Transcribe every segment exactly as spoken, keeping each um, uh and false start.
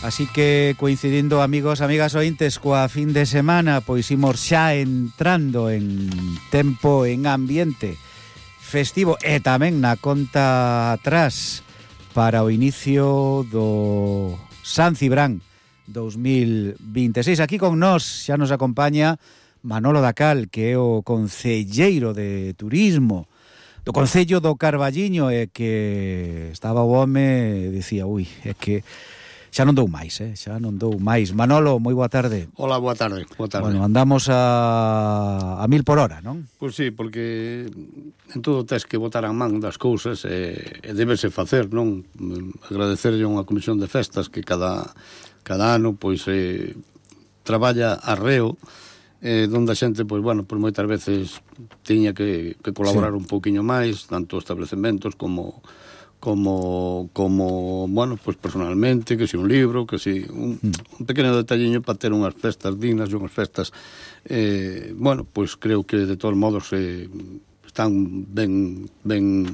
Así que coincidindo, amigos, amigas ointes, coa fin de semana, pois imos xa entrando en tempo, en ambiente festivo e tamén na conta atrás para o inicio do San Cibrán dos mil vinte e seis. Aquí con nós xa nos acompaña Manolo Dacal, que é o concelleiro de turismo do Concello do Carballiño, e que estaba o home, dicía, ui, é que xa non dou máis, eh? xa non dou máis. Manolo, moi boa tarde. Hola, boa tarde, boa tarde. Bueno, andamos a, a mil por hora, non? Pois sí, porque en todo tes que botar a man das cousas e, e debese facer, non? Agradecerlle a unha comisión de festas que cada, cada ano, pois, eh, traballa arreo, eh, donde a xente, pois, bueno, pois moitas veces tiña que, que colaborar sí. un pouquiño máis, tanto establecementos como... como, como bueno, pues personalmente, que si un libro, que si un, un pequeno detalliño para ter unhas festas dignas e unhas festas, eh, bueno, pues creo que de todos modos eh, están ben, ben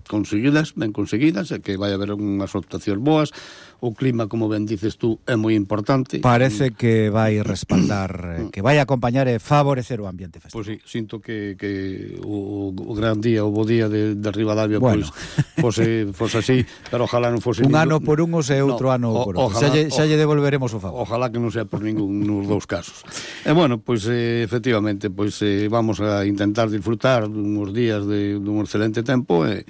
conseguidas, ben conseguidas, e que vai haber unhas optacións boas. O clima, como ben dices tú, é moi importante. Parece que vai respaldar, que vai acompañar e favorecer o ambiente festivo. Pois pues sí, sinto que, que o, o gran día, o bo día de, de Ribadavia, bueno. pois fose, fose así, pero ojalá non fose... Un ningún... ano por uns e outro no, ano o, por outro. Xa lle, xa lle devolveremos o favor. Ojalá que non sea por ningún nos dous casos. E bueno, pois eh, efectivamente, pois eh, vamos a intentar disfrutar dunhos días de dun excelente tempo e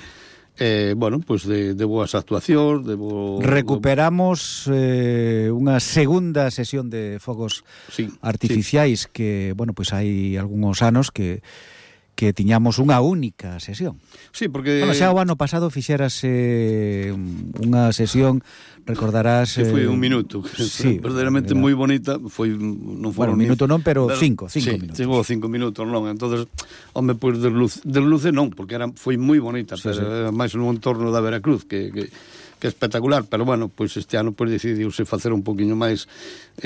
Eh, bueno, pois pues de, de boas actuacións, de bo... Recuperamos eh, unha segunda sesión de fogos sí, artificiais sí. que, bueno, pois pues hai algúns anos que que tiñamos unha única sesión. Sí, porque... Bueno, xa o ano pasado fixérase unha sesión, recordarás... Que foi un minuto, sí, verdadeiramente era... moi bonita, foi non foron... Bueno, un minuto non, pero, pero cinco, cinco sí, minutos. Chegou cinco minutos, non, entonces, home, pois, pues, desluce, desluce non, porque era, foi moi bonita, sí, pero sí. máis no entorno da Veracruz, que... que que é espectacular, pero bueno, pois pues este ano pois pues, decidiuse facer un poquinho máis,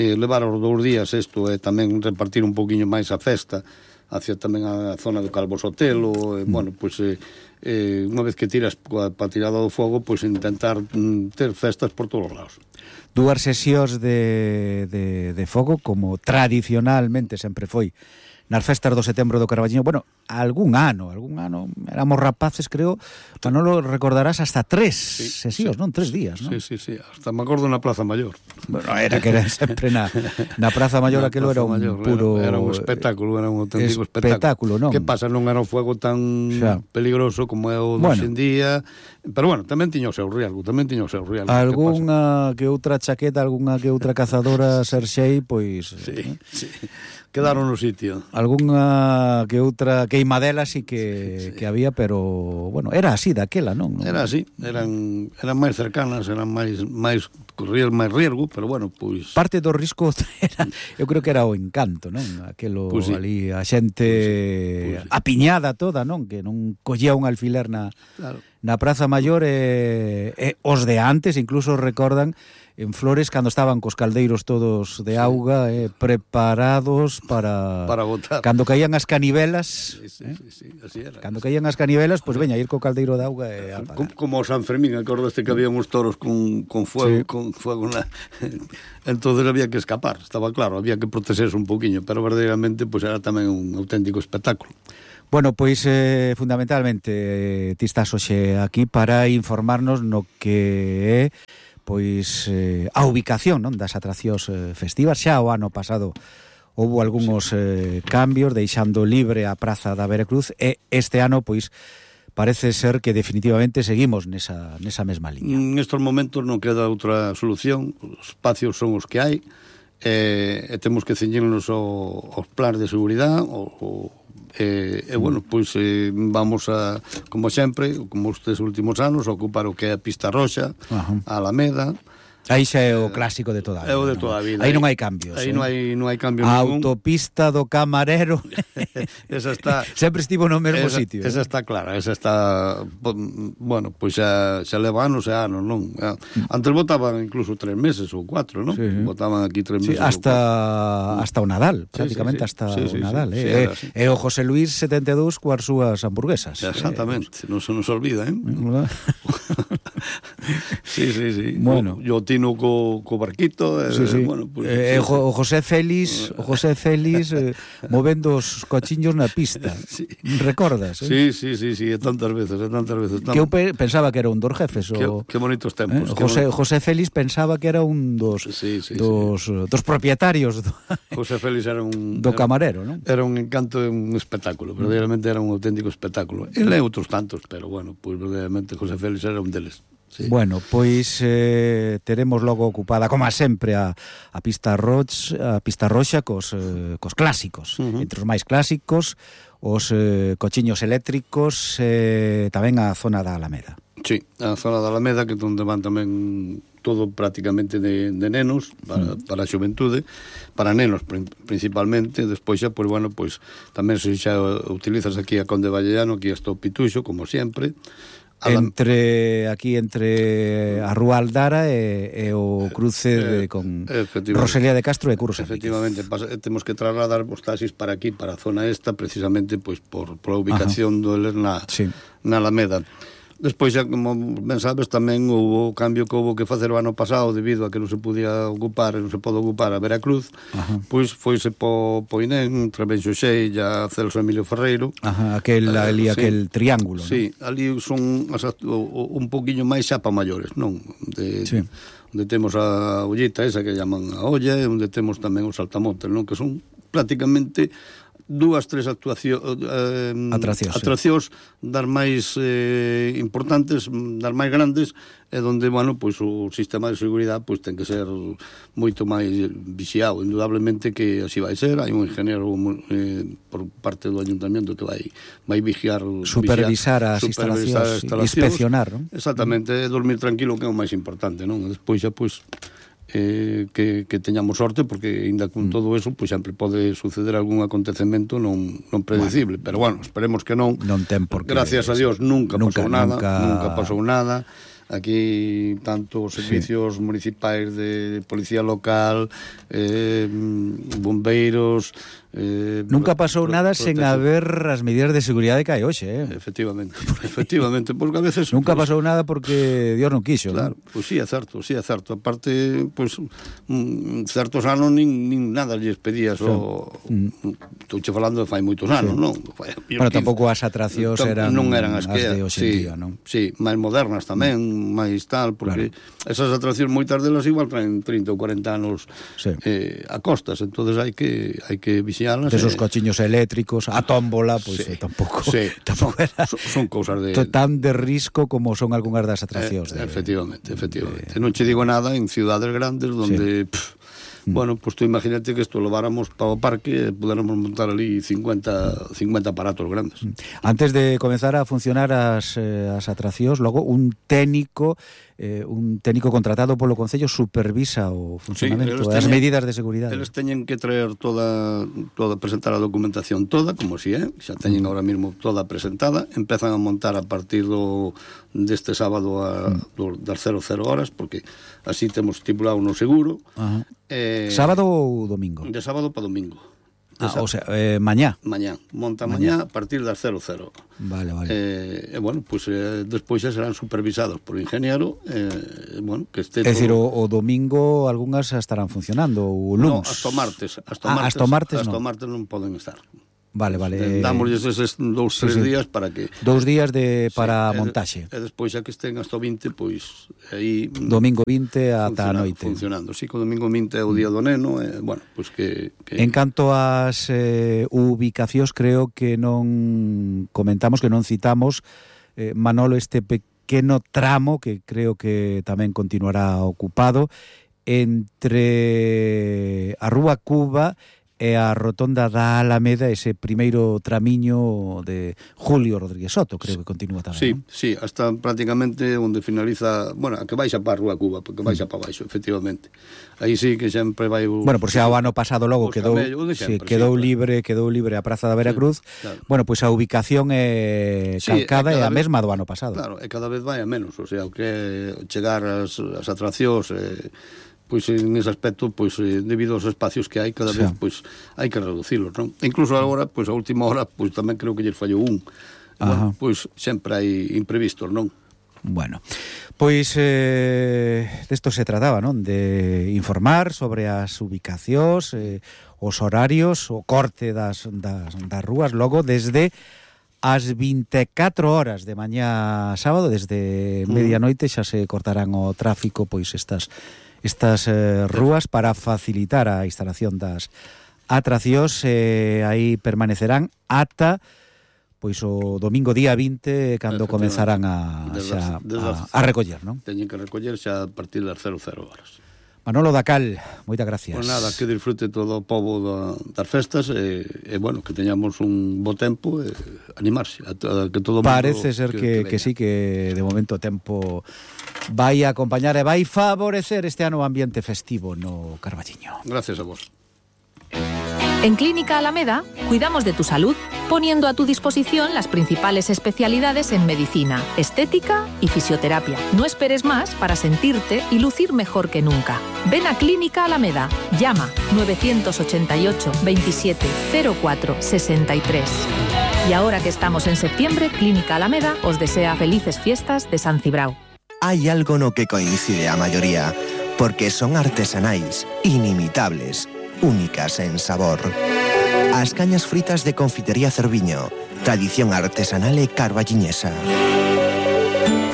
eh, levar os dous días isto e tamén repartir un poquinho máis a festa hacia tamén a zona do Calvo Sotelo, e, mm. bueno, pois pues, eh, unha vez que tiras pa tirada do fogo, pois pues, intentar mm, ter festas por todos os lados. Dúas sesións de, de, de fogo, como tradicionalmente sempre foi nas festas do setembro do Carballiño. Bueno, algún ano, algún ano, éramos rapaces, creo, Manolo, recordarás, hasta tres sí, sesións, sí, non? Tres días, non? Sí, sí, sí, hasta me acordo na Praza Maior. Bueno, era que era sempre na, na Praza Maior, aquilo era un Mayor, puro... Era, era un espectáculo, era un auténtico espectáculo, espectáculo, non? Que pasa, non era un fuego tan xa. peligroso como é o de bueno. hoxe en día, pero bueno, tamén tiña o seu riesgo, tamén tiña o seu riesgo. Algúnha que, que outra chaqueta, algunha que outra cazadora Serxei, pois... Sí, eh? sí. Quedaron no sitio. Algúnha que outra queimadela sí que, sí, sí. que había, pero, bueno, era así daquela, non? Era así, eran eran máis cercanas, eran máis máis corrían máis riesgo, pero bueno, pois... Parte do risco era, eu creo que era o encanto, non? Aquelo pues sí. ali, a xente pues sí. Pues sí. apiñada toda, non? Que non collía un alfiler na, claro. na Praza Maior e, e os de antes incluso recordan en Flores cando estaban cos caldeiros todos de auga, sí. eh, preparados para... Para botar. Cando caían as canivelas... Sí, sí, eh? sí, sí, así era. Cando caían as canivelas, pois pues, veña, ir co caldeiro de auga e apagar. Como, como o San Fermín, acordaste que había uns toros con, con fuego, sí. con fuego na... Entonces había que escapar, estaba claro, había que protegerse un poquinho, pero verdadeiramente pues, era tamén un auténtico espectáculo. Bueno, pois eh, fundamentalmente eh, ti estás hoxe aquí para informarnos no que é pois eh, a ubicación, non, das atraccións eh, festivas. Xa o ano pasado houve algúns eh, cambios, deixando libre a Praza da Veracruz, e este ano pois parece ser que definitivamente seguimos nesa, nesa mesma liña. Nestes momentos non queda outra solución, os espacios son os que hai, e, e temos que ceñirnos aos plans de seguridade, o, o E, e bueno, pois eh, vamos a, como sempre, como estes últimos anos, a ocupar o que é a Pista Roxa, uh-huh. a Alameda. Aí xa é o clásico de toda a vida. É o de toda a vida. Aí non hai cambios. Aí eh? non hai non hai cambios a ningún. Autopista do Camarero. Esa está sempre estivo no mesmo esa, sitio. Esa eh? está clara, esa está bueno, pois xa xa leva anos e anos, non? Antes votaban incluso tres meses ou cuatro, non? Sí, sí. Votaban aquí tres meses. Sí, hasta hasta o Nadal, prácticamente sí, sí, sí. hasta sí, sí, o Nadal, sí, eh. Sí, e o José Luis setenta e dous coas súas hamburguesas. Exactamente, eh. non se nos olvida, eh? ¿Verdad? Sí, sí, sí. Bueno, yo Tino co, co barquito, sí, sí. Eh, bueno, pues, eh, sí, o José Félix, o José Félix eh, movendo os cochiños na pista. Sí. Recordas? Eh? Sí, sí, sí, sí, e tantas veces, e tantas veces. Que eu pe pensaba que era un dos jefes. Que, o, que bonitos tempos. Eh? Que José, bon... José Félix pensaba que era un dos, sí, sí, dos, sí. dos propietarios do, José Félix era un... do camarero, non? Era un encanto e un espectáculo, verdadeiramente era un auténtico espectáculo. Ele e outros tantos, pero bueno, pois pues, verdadeiramente José Félix era un deles. Sí. Bueno, pois eh, teremos logo ocupada, como sempre, a, a pista rox, a pista roxa cos, eh, cos clásicos. Uh -huh. Entre os máis clásicos, os eh, cochiños eléctricos, eh, tamén a zona da Alameda. Sí, a zona da Alameda, que onde van tamén todo prácticamente de, de nenos, para, mm. para a xuventude, para nenos principalmente. Despois xa, pois, bueno, pois tamén se xa utilizas aquí a Conde Vallellano, aquí está o Pituxo, como sempre. Entre aquí entre a Rúa Aldara e, e o cruce de, con Rosalía de Castro e Curros. Efectivamente, pasa, temos que trasladar os taxis para aquí, para a zona esta, precisamente pois por, por a ubicación do eles na, sí. na Alameda. Despois, xa, como ben sabes, tamén houve o cambio que houve que facer o ano pasado debido a que non se podía ocupar, non se pode ocupar a Veracruz. Ajá. Pois foise po, po Inén, Trabenxo Xeilla, Celso Emilio Ferreiro. Ajá, aquel, uh, ali, sí. aquel triángulo, sí, ¿no? Ali son as, o, un poquinho máis xa pa maiores, non? De, sí. Onde temos a ollita esa que llaman a olla, e onde temos tamén os saltamontes, non? Que son prácticamente dúas, tres actuacións eh, atraccións, atraccións sí. das máis eh, importantes, das máis grandes, e donde, bueno, pois o sistema de seguridade pois ten que ser moito máis vixiado, indudablemente que así vai ser. Hai un ingeniero eh, por parte do ayuntamiento que vai vai vigiar, supervisar as instalacións, instalacións, inspeccionar, non? Exactamente, mm. dormir tranquilo, que é o máis importante, non? Despois xa, pois Eh, que, que teñamos sorte, porque ainda con mm. todo eso pois sempre pode suceder algún acontecemento non, non predecible, bueno, pero bueno, esperemos que non. Non ten por que, gracias a Dios nunca, nunca pasou nada, nunca... nunca pasou nada. Aquí tanto os servicios sí. municipais de policía local, eh, bombeiros, eh, nunca pasou pro, nada sen haber as medidas de seguridade que hai hoxe, eh? Efectivamente, efectivamente, porque a veces nunca pues, pasou nada porque Dios non quixo, claro, ¿no? Pois pues, sí, é certo, sí, é certo. Aparte, pois pues, mm, certos anos nin, nin nada lles pedías sí. o mm. estou che falando de fai moitos anos, sí. non? Fai, bueno, tampouco as atraccións eran non eran as, as que de hoxe sí, en día, non? Sí, máis modernas tamén, mm. máis tal, porque claro. esas atraccións moitas delas igual traen trinta ou cuarenta anos sí. eh, a costas, entonces hai que hai que vixialas. Desos eh, cochiños eléctricos, a tómbola, pois pues, sí. tampouco, sí. tampouco son, era son, son cousas de tan de risco como son algunhas das atraccións. Eh, de, efectivamente, efectivamente. De... Non che digo nada en ciudades grandes donde... Sí. Pff, bueno, pues tú imagínate que esto lo váramos para o parque e pudiéramos montar ali cincuenta aparatos grandes. Antes de comenzar a funcionar as, eh, as atraccións, logo un técnico eh, un técnico contratado polo Concello supervisa o funcionamento, sí, as medidas de seguridade. Eles teñen que traer toda, toda presentar a documentación toda, como si é, xa teñen ahora mismo toda presentada, empezan a montar a partir do deste sábado a, do, das cero cero horas, porque así temos estipulado no seguro. Ajá. Eh, sábado ou domingo? De sábado para domingo. Ah, o sea, eh, mañá. Mañá, monta mañá, mañá a partir das cero cero. Vale, vale. Eh, eh, bueno, pues eh, despois xa serán supervisados por ingeniero, eh, bueno, que este... É dicir, o, o domingo algunhas estarán funcionando, o lunes. No, hasta o martes. Hasta ah, martes, hasta o martes, hasta no. martes non poden estar. Vale, vale. Dámosles eses dous, tres sí, sí. días para que... Dous días de para sí, montaxe. E despois xa que estén hasta o vinte, pois aí... Domingo vinte ata a noite. Funcionando, sí, co domingo vinte é o día do neno, e, bueno, pois que, que... En canto ás eh, ubicacións, creo que non comentamos, que non citamos, eh, Manolo, este pequeno tramo, que creo que tamén continuará ocupado, entre a Rúa Cuba e a rotonda da Alameda, ese primeiro tramiño de Julio Rodríguez Soto, creo que continúa tamén. Sí, ¿no? sí, hasta prácticamente onde finaliza, bueno, a que baixa para a Rúa Cuba, porque baixa mm. para baixo, efectivamente. Aí sí que sempre vai o... Bueno, por xa o ano pasado logo quedou, sempre, sí, quedou sí, libre, claro. quedou libre a Praza da Veracruz. Sí, claro. Bueno, pois pues a ubicación é calcada sí, é a mesma do ano pasado. Claro, e cada vez vai a menos, o sea, o que chegar as, as atraccións... Eh, pois en ese aspecto, pois debido aos espacios que hai, cada sí. vez pois hai que reducilos, non? E incluso agora, pois a última hora, pois tamén creo que lle fallou un. Bueno, pois sempre hai imprevistos, non? Bueno, pois eh, desto se trataba, non? De informar sobre as ubicacións, eh, os horarios, o corte das, das, das rúas, logo desde as vinte e catro horas de mañá sábado, desde medianoite xa se cortarán o tráfico, pois estas estas eh, rúas para facilitar a instalación das atraccións, eh, aí permanecerán ata pois o domingo día vinte, cando comenzarán a, xa, a, a recoller, non? Teñen que recoller xa a partir das cero cero horas. Manolo Dacal, moitas gracias. Pois nada, que disfrute todo o pobo da, das festas e, e, bueno, que teñamos un bo tempo e animarse a, a que todo o mundo... Parece ser que, que, que sí, que de momento o tempo vai acompañar e vai favorecer este ano o ambiente festivo no Carballiño. Gracias a vos. En Clínica Alameda cuidamos de tu salud, poniendo a tu disposición las principales especialidades en medicina, estética y fisioterapia. No esperes más para sentirte y lucir mejor que nunca. Ven a Clínica Alameda. Llama nueve ocho ocho, veintisiete, cero cuatro, sesenta y tres. Y ahora que estamos en septiembre, Clínica Alameda os desea felices fiestas de San Cibrao. Hai algo no que coincide a maioría, porque son artesanais, inimitables, únicas en sabor. As cañas fritas de Confitería Cerviño, tradición artesanal e carballiñesa.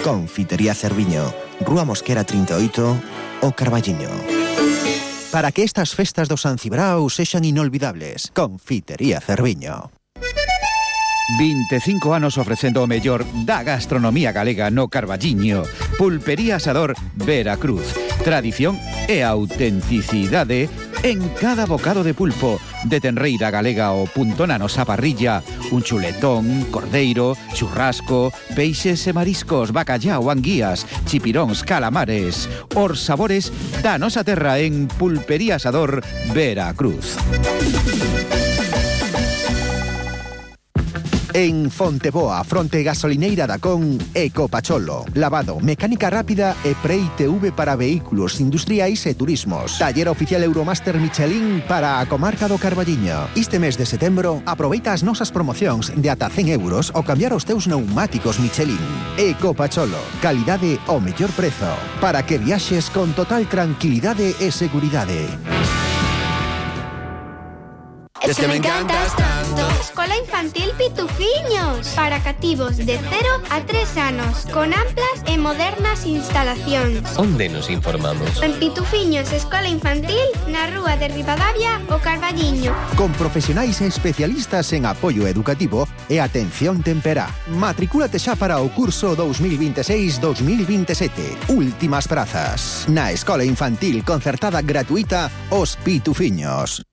Confitería Cerviño, Rúa Mosquera trinta e oito, o Carballiño. Para que estas festas do San Cibrao sexan inolvidables, Confitería Cerviño. vinte e cinco anos ofrecendo o mellor da gastronomía galega no Carballiño. Pulpería Asador Veracruz. Tradición e autenticidade en cada bocado de pulpo, de tenreira galega ao punto na nosa parrilla, un chuletón, cordeiro, churrasco, peixes e mariscos, bacallao, anguías, chipiróns, calamares, os sabores da nosa terra en Pulpería Asador Veracruz. En Fonteboa, fronte gasolineira da Con, Ecopacholo. Lavado, mecánica rápida e Pre-I T V para vehículos industriais e turismos. Taller oficial Euromaster Michelin para a comarca do Carballiño. Este mes de setembro, aproveita as nosas promocións de ata cen euros ao cambiar os teus neumáticos Michelin. Ecopacholo, calidade ao mellor prezo, para que viaxes con total tranquilidade e seguridade. Es que me encantas tanto. Escola Infantil Pitufiños, para cativos de cero a tres anos, con amplas e modernas instalacións. Onde nos informamos? En Pitufiños Escola Infantil, na Rúa de Ribadavia, o Carballiño. Con profesionais e especialistas en apoio educativo e atención temperá. Matricúlate xa para o curso dos mil veintiséis dos mil veintisiete. Últimas prazas. Na Escola Infantil concertada gratuita Os Pitufiños.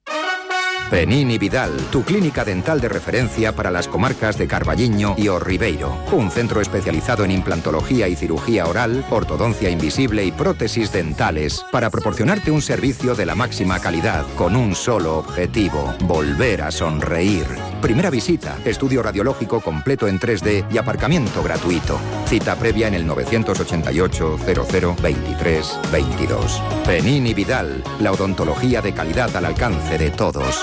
Penini Vidal, tu clínica dental de referencia para las comarcas de Carballiño y O Ribeiro. Un centro especializado en implantología y cirugía oral, ortodoncia invisible y prótesis dentales para proporcionarte un servicio de la máxima calidad con un solo objetivo: volver a sonreír. Primera visita, estudio radiológico completo en tres D y aparcamiento gratuito. Cita previa en el nueve ocho ocho, cero cero, veintitrés, veintidós. Penini Vidal, la odontología de calidad al alcance de todos.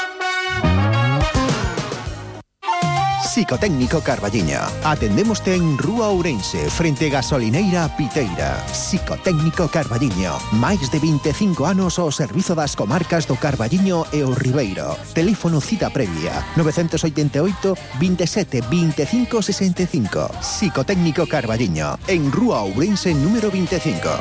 Psicotécnico Carballiño. Atendémoste en Rúa Ourense, frente gasolineira Piteira. Psicotécnico Carballiño. Máis de vinte e cinco anos ao servizo das comarcas do Carballiño e o Ribeiro. Teléfono cita previa nove oito oito, veintisiete, veinticinco, sesenta y cinco. Psicotécnico Carballiño, en Rúa Ourense número veinticinco.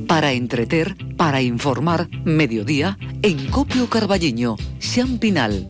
Para entreter, para informar, mediodía, en Copio Carballiño, Xan Pinal.